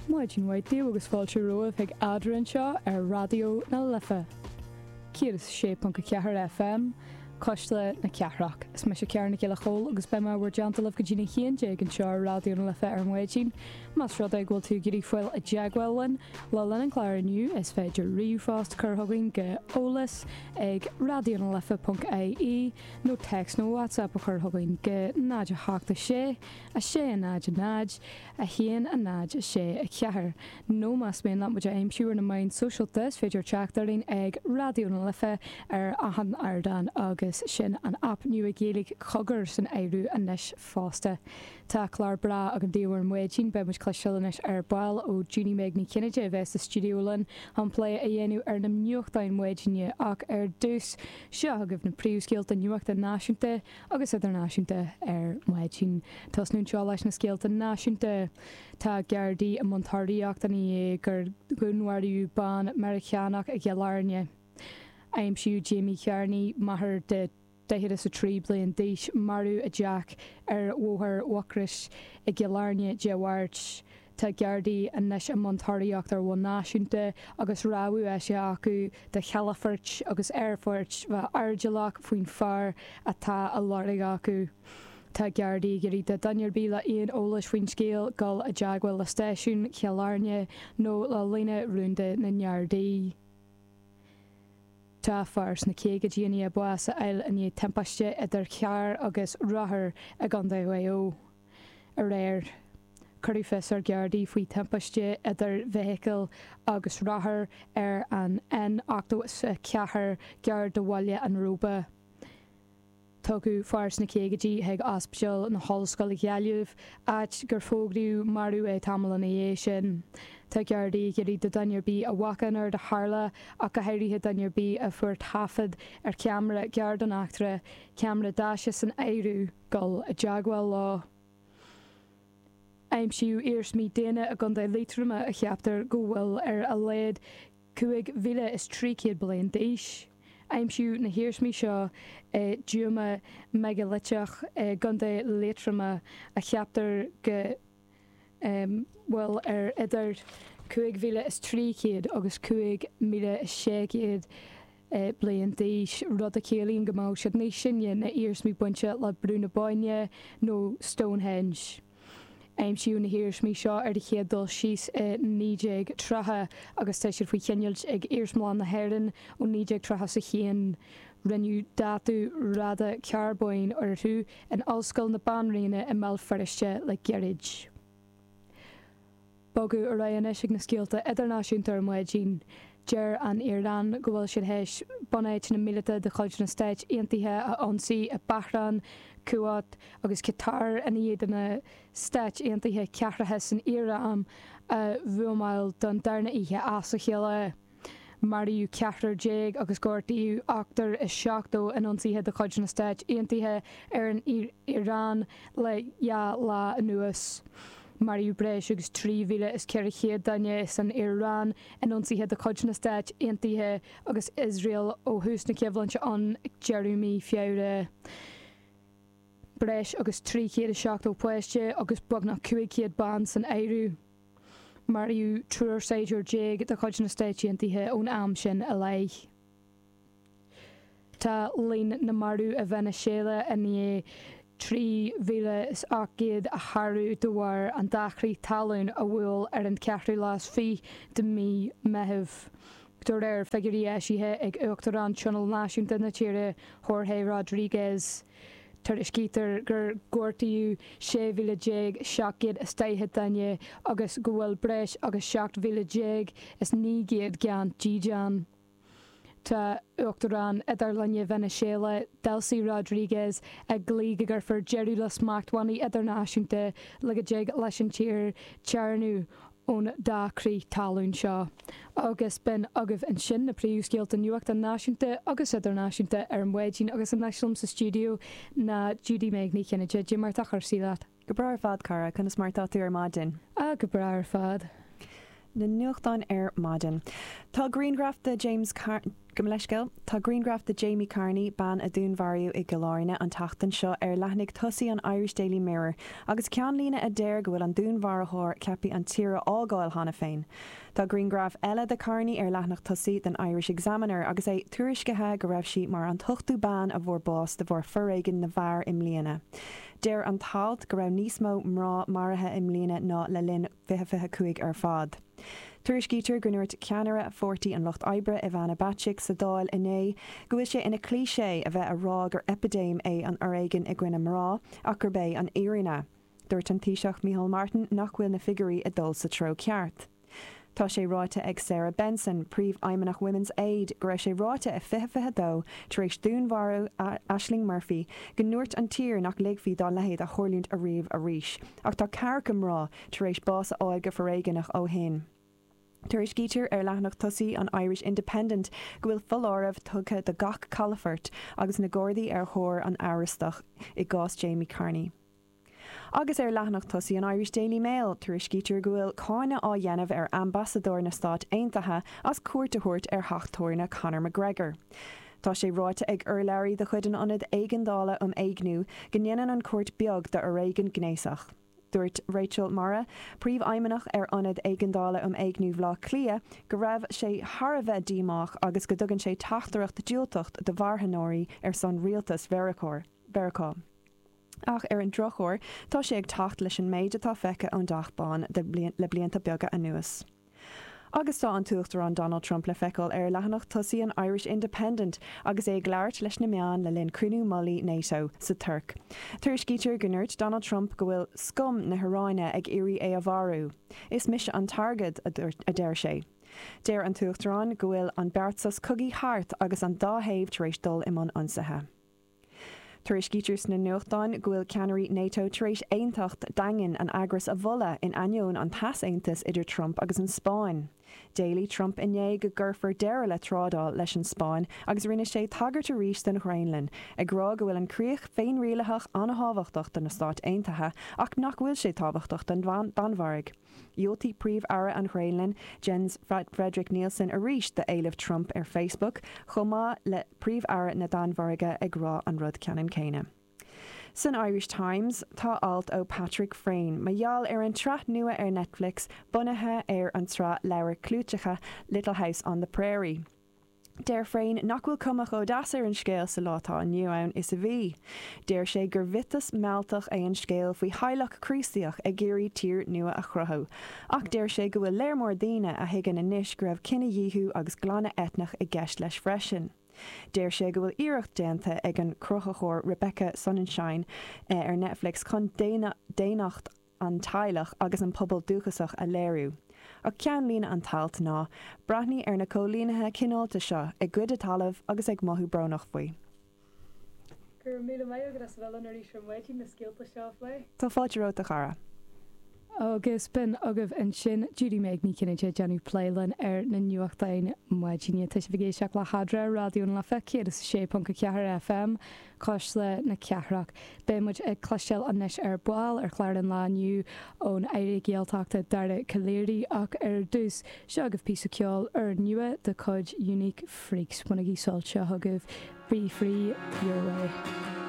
Maidin mhaith daoibh agus fáilte romhaibh chuig Eadra anseo ar Raidió na Life 106.4 FM, Cuisle na Cathrach. Is mise Ciara Nic Giolla Chóill agus beidh mé i bhur dteannta libh go dtí'n 11 anseo ar Raidió na Life ar maidin. Más rud é go bhfuil tú ag iarraidh fáil i dteagmháil linn le linn an chláir inniu, is féidir ríomhphost a chur chugainn go eolas ag raidionalife.ie nó téacs nó WhatsApp a chur chugainn go 0 8 6 6 0 0 1 0 6 4 Nó más mian leat muid a aimsiú ar na meáin sóisialta is féidir teacht orainn ag Raidió na Life ar achan ardán agus sin an aip nua Gaeilge Cogar san áireamh anois fosta. Tá clár breá agam daoibh ar maidin. Beidh muid cloisteáil anois ar ball ó Judy Meg Ní Chinnéide a bheas sa stiúideo linn chun plé a dhéanamh ar na nuachtáin maidine ach ar dtús, seo chugaibh na príomhscéalta nuachta náisiúnta agus idirnáisiúnta ar maidin. Tosnú anseo leis na scéalta náisiúnta. Tá Gardaí i mbun tóraíochta i ndiaidh gur dúnmharaíodh bean Meiriceánach i gCill Airne. Aimsíodh Jamie Kearney, máthair de 43 bliain d'aois, marbh i dteach ar Bhóthar Mhucrois i gCill Airne Dé Máirt. Tá Gardaí anois i mbun tóraíochta ar bhonn náisiúnta agus rabhadh eisithe acu do chalafoirt agus aerfoirt bheith airdeallach faoin fear atá á lorg acu. Tá Gardaí ag iarraidh do dhuine ar bith le aon eolas faoin scéal dul i dteagmháil le stáisiún Chill Airne nó le líne rúnda na nGardaí. Tá fear sna caogaidí i ndiaidh bás a fháil i ndiaidh timpiste idir charr agus rothar i gContae Mhaigh Eo. Aréir, cuireadh fios ar Ghardaí faoi thimpiste idir bhfeithicil agus rothar ar an N84 gar do Bhaile an Róba. Tugadh fear sna caogaidí chuig Ospidéal na hOllscoile Gaillimh, áit gur fógraíodh marbh é tamall ina dhiaidh sin. Tá Gardaí ag iarraidh do dhuine ar bith a bhfaca an rud a tharla, ach go háirithe duine ar bith a fuair taifead ar cheamara gar don eachtra, ceamara daise san áireamh, dul i dteagmháil leo. Aimsíodh iarsmaí daonna i gContae Liatroma a cheaptar go bhfuil ar a laghad 5,300 bliain d'aois. Aimsíodh na hiarsmaí seo i dtuama meigiliteach i gContae Liatroma a cheaptar go bhfuil ar idir 5,300 agus 5,600 bliain d'aois, rud a chiallaíonn go mbeadh siad níos sine ná iarsmaí bainte le Brú na Bóinne nó Stonehenge. Aimsíodh na hiarsmaí seo ar an chéad dul síos i 1930 agus tá siad faoi choinneáilt ag Iarsmalann na hÉireann ó 1931. Rinneadh dátú radacarbóin orthu in Ollscoil na Banríona i mBéal Feirste le gairid. Bogadh ar aghaidh anois ag na scéalta idirnáisiúnta ar maidin. Deir an Iaráin go bhfuil siad théis bunáiteanna míleata de chuid na Stáit Aontaithe a ionsaí i Bahrain, Kuwait agus Catar i ndiaidh do na Stáit Aontaithe cathracha san Iaráin a bhuamáil don darna oíche as a chéile. Maraíodh ceathrar déag agus gortaíodh ochtar is 70 in ionsaithe de chuid na Stáit Aontaithe ar an Iaráin le dhá lá anuas. Maraíodh breis agus 3,400 duine san Iaráin in ionsaithe de chuid na Stáit Aontaithe agus Iosrael ó thús na coimhlinte ann ag deireadh mí Feabhra. Breis agus 370 páiste agus beagnach 500 bean san áireamh. Maraíodh triúr saighdiúir déag de chuid na Stáit Aontaithe ón am sin i leith. Tá líon na marbh i Veiniséala i ndiaidh 3,800 a shárú de bharr an dá chrith talún a bhuail ar an cheathrú lá is fiche de mhí Meitheamh. De réir figiúirí eisithe ag Uachtarán Tionól Náisiúnta na tíre, Jorge Rodriguez, Tuairiscítear gur gortaíodh 16,740 duine agus go bhfuil breis agus 17,900 gan dídean. Tá Uachtarán Idirlinne Veiniséala, Delcy Rodriguez, ag glaoch go gcuirfear deireadh le smachtbhannaí idirnáisiúnta le go dtig leis an tír téarnamh ón dá chrith talún seo. Agus b'in agaibh ansin na príomhscéalta nuachta náisiúnta agus idirnáisiúnta ar maidin agus anois liom sa stiúideo ná Judy Meg Ní Chinnéide. Cad é mar tá cúrsaí leat? Go breá ar fad, cara. Conas mar atá tú ar maidin? Ah, go breá ar fad. Na nuachtáin ar maidin. Tá grianghraf de James. Gabh mo leithscéal. Tá grianghraf de Jamie Carney, bean a dúnmharaíodh i gCill Airne an tseachtain seo, ar leathanaigh tosaigh an Irish Daily Mirror agus ceannlíne a deir go bhfuil an dúnmharaitheoir ceaptha an tír a fhágáil cheana féin. Tá grianghraf eile de Carney ar leathanach tosaigh den Irish Examiner agus é tuairiscithe go raibh sí mar an t-ochtú bean a bhfuair bás de bharr foréigean na bhfear i mbliana. Deir an t-alt go raibh níos mó mná maraithe i mbliana ná le linn 2025 ar fad. Tuairiscítear go ndúirt ceannaire Pháirtí an Lucht Oibre, Ivana Bacik, sa Dáil inné go bhfuil sé ina cliché a bheith a rá gur eipidéim é an fhoréigean i gcoinne mná ach gurb é an fhírinne. Dúirt an Taoiseach Micheál Martin nach bhfuil na figiúirí ag dul sa treo ceart. Tá sé ráite ag Sarah Benson, Príomhfheidhmeannach Women's Aid, go raibh sé ráite i 2022, tar éis dúnmharú Ashling Murphy, go ndúirt an tír nach ligfí dá leithéid a tharlúint ariamh arís. Ach tá ceathracha mná tar éis bás a fháil go foréigeanach ó shin. Tuairiscítear ar leathanach tosaigh an Irish Independent go bhfuil foláireamh tugtha do gach calafort agus na Gardaí ar thóir an amhrastach i gcás Jamie Carney. Agus ar leathanach tosaigh an Irish Daily Mail, tuairiscítear go bhfuil cáineadh á dhéanamh ar ambasadóir na Stát Aontaithe as cuairt a thabhairt ar theach tábhairne Conor McGregor. Tá sé ráite ag urlabhraí de chuid an Ionaid Éigeandála um Éigniú go ndéanann an chuairt beag d'fhoréigean gnéasach. Dúirt Rachel Morrogh, Príomhfheidhmeannach ar Ionad Éigeandála um Éigniú Bhaile Átha Cliath, go raibh sé thar a bheith díomách agus go dtugann sé teachtaireacht diúltach do mharthanóirí ar son rialtas Mheiriceá. Ach ar an drochuair, tá sé ag teacht leis an méid atá feicthe ón dTeach Bán le blianta beaga anuas. Agus tá an tUachtarán Donald Trump le feiceáil ar leathanach tosaigh an Irish Independent agus é ag labhairt leis na meáin le linn cruinniú mullaigh NATO sa Tuirc. Tuairiscítear go ndúirt Donald Trump go bhfuil scum na hIaráine ag iarraidh é a mharú. Is mise an targaid, a deir sé. Deir an tUachtarán go bhfuil an beart sos cogaidh thart agus an dá thaobh tar éis dul i mbun ionsaithe. Tuairiscítear sna nuachtáin go bhfuil ceannairí NATO tar éis aontacht daingean an eagrais a mholadh in ainneoin an t-easaontais idir Trump agus an Spáinn. D'éiligh Trump inné go gcuirfear deireadh le trádáil leis an Spáinn agus rinne sé tagairt arís don Ghraonlainn, ag rá go bhfuil an críoch féinrialaitheach an-tábhachtach do na Stáit Aontaithe ach nach bhfuil sé tábhachtach don Danmhairg. Dhiúltaigh Príomh-Aire an Ghraonlainn, Jens Frederik Nielsen arís d'éileamh Trump ar Facebook, chomh maith le Príomh-Aire na Danmhairge ag rá an rud ceannann céanna. San Irish Times, tá alt ó Patrick Freyne mar gheall ar an tsraith nua ar Netflix bunaithe ar an tsraith leabhar clúiteacha Little House on the Prairie. Deir Freyne nach bhfuil cuma chomh deas ar an scéal sa lá atá inniu ann is a bhí. Deir sé gur mhiotas mealltach é an scéal faoi theaghlach Críostaíoch ag iarraidh tír nua a chruthú. Ach deir sé go bhfuil léar mór daoine a thuigeann anois go raibh cinedhíothú agus glanadh eitneach i gceist leis freisin. Deir sé go bhfuil iarracht déanta ag an cruthaitheoir Rebecca Sonnenschein ar Netflix chun daonnacht an teaghlach agus an pobal dúchasach a léiriú. Ach ceannlíne an t-alt ná, Breathnaigh ar na coilínithe cineálta seo ag goid a dtalamh agus ag mothú brónach faoi. Go raibh míle maith agat as a bheith linn arís ar maidin na scéalta seo a phlé. Tá fáilte romhat a chara. Agus b'in agaibh ansin Judy Meg Ní Chinnéide ag déanamh plé linn ar na nuachtáin maidine. Tá sibh ag éisteacht le hEadra, Raidió na Life 106.4 FM. Cuisle na Cathrach. Beidh muid ag cloisteáil anois ar ball ar chlár an lae inniu ón Aire Gaeltachta Dara Calleary ach ar dtús, seo agaibh píosa ceoil úrnua de chuid Unique Freaks. Bainigí sult, seo chugaibh Be Free Your Way.